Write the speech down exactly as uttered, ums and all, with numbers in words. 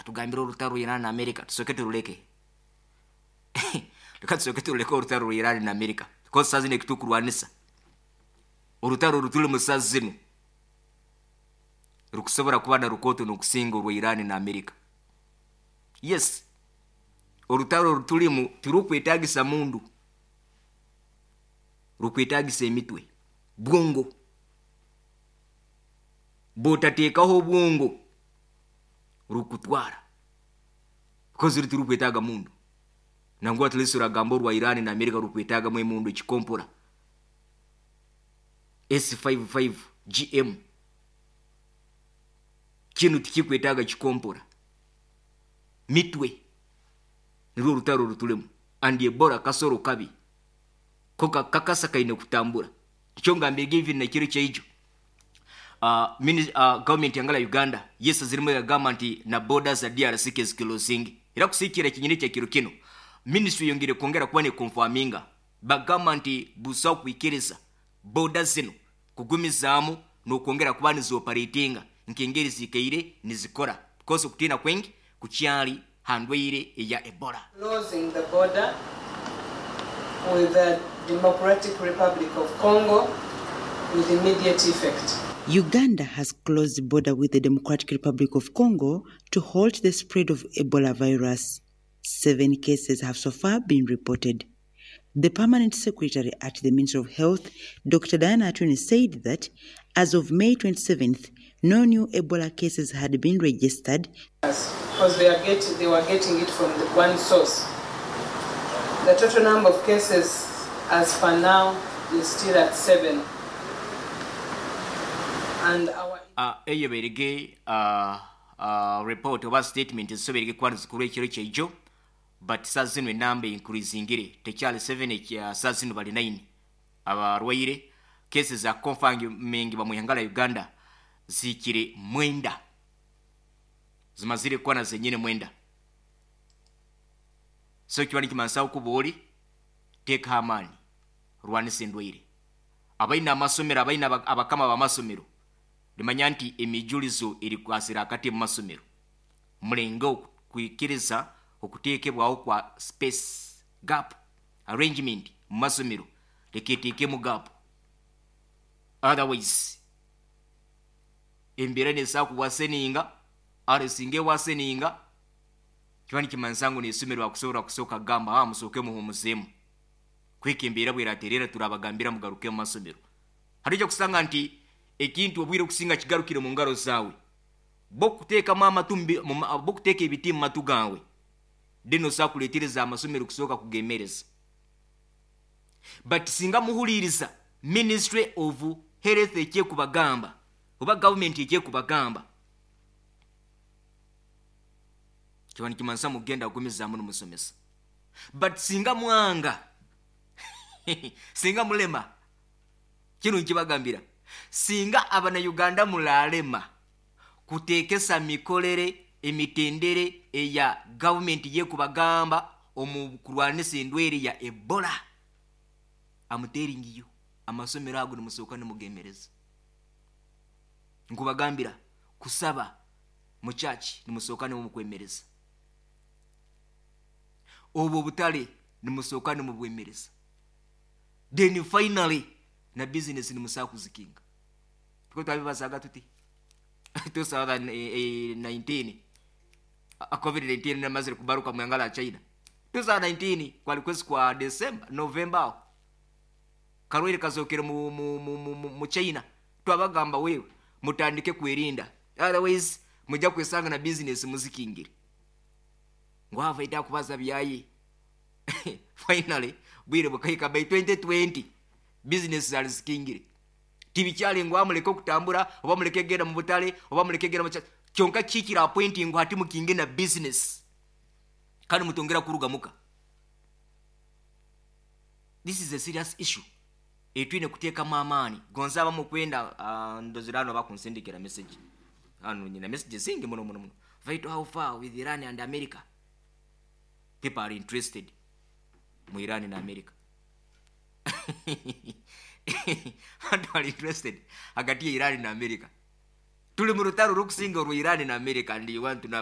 Atugambire orutaro Iran na America tusooke turuleke, reka tusooke turuleke orutaro rwa Iran na America, because saa zino ekitukurwanisa, orutaro rutulimu saa zino rukusobora kuba na rukooto n'okusinga orwa Iran na America. Yes, orutaro rutulimu tirukwetagisa mundu, rukwetagisa emitwe, bwongo. Bw'otateekaho obwongo rukutwara, because ruri tirukwetaaga mundu. Nangwa at least oragamba orwa Iran na America rukwetaagamu emundu, ekikompora S fifty-five G M. Kinu tikikwetaaga kikompora, mitwe. Nirwo orutaro rutulemu. And Ebola kasoro kabi ko kakasa kaine kutambura. Nikyo ngambire even nekiro kyaijo, uh, mini, uh, government yangala Uganda yes zirimu yagamba nti na borders za D R C keziclosinga. Era kusikira kinyini kya kiro kino, ministry yongere kwongera kuba neconfirminga, bagamba nti busaho kwikiriza border zino kugumizaamu n'okwongera kuba nizioperatinga nk'engeri zikaire nizikora, because okutiina kwengi kukyali ha ndwaire eya Ebola. Closing the border with the Democratic Republic of Congo with immediate effect. Uganda has closed the border with the Democratic Republic of Congo to halt the spread of Ebola virus. Seven cases have so far been reported. The permanent secretary at the Ministry of Health, Doctor Diana Atwine, said that as of May twenty-seventh, no new Ebola cases had been registered. Because they, are get, they were getting it from the one source. The total number of cases as for now is still at seven. And our uh, eyo berige uh, uh, report oba statement ezisoberege kuba nizikuru ekiro kyaijo. But saa zino enamba increasingire, tekyali seven, saa zino bali nine abarwaire. Cases za confirming bamuhangala Uganda zikire mwenda, zimazire kuba na zenyine mwenda. So kiba nikimanisa okuba oli teekaho amaani, rwanisa endwaire. Abaine amasomero, abaine abakama b'amasomero, limanya nti emijulizo eri kwasira akati mu masomero. Mulenge okwikiriza okuteekebwaho kwa space gap arrangement mu masomero, leka eteekemu gap, otherwise embeera nesaa kuwaseninga. Are singa ewaseninga, kiba nikimanyisa ngu n'isomero bakusobola kusooka kugamba, "Ah, musooke muhumuzeemu kweka embeera bweraterera, turabagambira mugaruke mu masomero." Hari ojja kusanga nti ekintu obwire okusinga kigarukire mu ngaro zaawe, bokuteekamu amatu, bokuteeka ebiti mu matu gaawe, then osobola kuleetereza amasomero kusooka kugemereza. But singa muhuliiriza Ministry of Health ekyekubagamba oba gavumenti ekyekubagamba, kiba nikimanyisa mugenda kugumizaamu nimusomesa. But singa mwanga, singa mulema, kino nkibagambira, singa Abanayuganda mulalema kuteekesa mikolere, emitendere eya gavumenti yekubagamba omu kurwanisa endwaire ya Ebola, am telling you, amasomero ago nimusooka nimugemereza. Nkubagambira, kusaba mu church nimusooka nimumukwemereza, obwo obutale nimusooka nimubwemereza, then finally na business nimusaa kuzikinga. Tuko twabibazaga tuti twenty nineteen, COVID nineteen namazire kubaruka mwangala ya China twenty nineteen, kwali kwezi kwa December, November aho karwaire kazokere mu, mu, mu, mu, mu, mu China. Twabagamba, wewe mutandike kwerinda, otherwise mujja kwesanga na business muzikingire. Ngwava ita kubaza byayi. Finally bwire bukahika by twenty twenty, business zali zikingire, tibikyali ngu amuleke okutambura oba muleke genda mu butale oba muleke genda mu kyonka. Kikira appointing ngu hati mukinge na business kandi mutongera kuruga muka. This is a serious issue etwine kuteekamu amaani. Gonza abamu kwenda uh, ndozera hano bakunsindikira message hano, nyina message zingi muno muno muno. Vital, how far with Iran and America? People are interested mu Iran na America. Abantu are interested hagati ya Iran na America. Tuli mu rutaro rukusinga orwa Iran na America, and you want to know.